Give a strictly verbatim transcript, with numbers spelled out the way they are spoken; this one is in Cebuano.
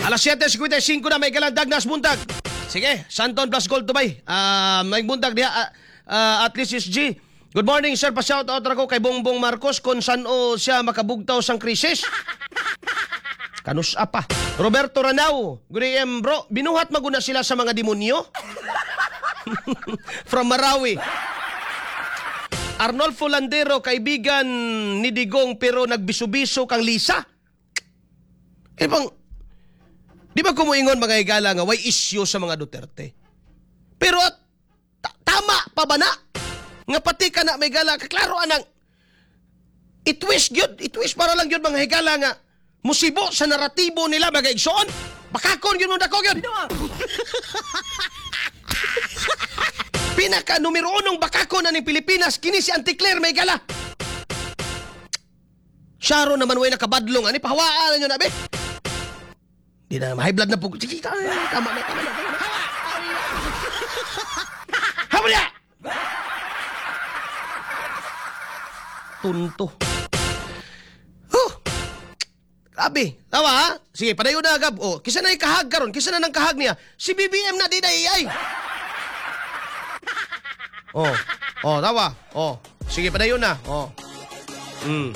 Alas siyete singkwenta y singko na, may kalandag nas buntag. Sige, Santon plus Gold Dubai. Ah, may buntag diha, ah, ah, at least is G. Good morning, sir, pa-shout out ra ko kay Bongbong Marcos kung saan o siya makabugtaw sang krisis. Kanus pa. Roberto Ranao, good A M, bro. Binuhat maguna sila sa mga demonyo? From Marawi. Arnolfo Landero, kaibigan ni Digong pero nagbiso-biso kang Lisa. Eh bang, di ba kumuingon, mga higala, nga way issue sa mga Duterte? Pero at ta- tama pa ba na? Nga pati ka na may gala, kaklaro anang itwist gyud, itwist para lang gyud, mga higala, nga musibo sa naratibo nila, mga igsoon. Bakakon gyud mo dako gyud. Pinaka numero unong bakakon na ng Pilipinas kini si Auntie Claire, may gala. Siya naman way nakabadlong ani pahawaan na nyo na be. Di na high blood na po. Sige, tama na, tama na, tama na. Tama na. Habol ya! Tunto. Huh. Grabe. Tawa ha? Sige, padayon na gab. Oh, kisa na ikahag karon, kisa na nang kahag niya. Si B B M na di na A I. Oh. Oh, tawa. Oh. Sige, padayon na. Oh. Mm.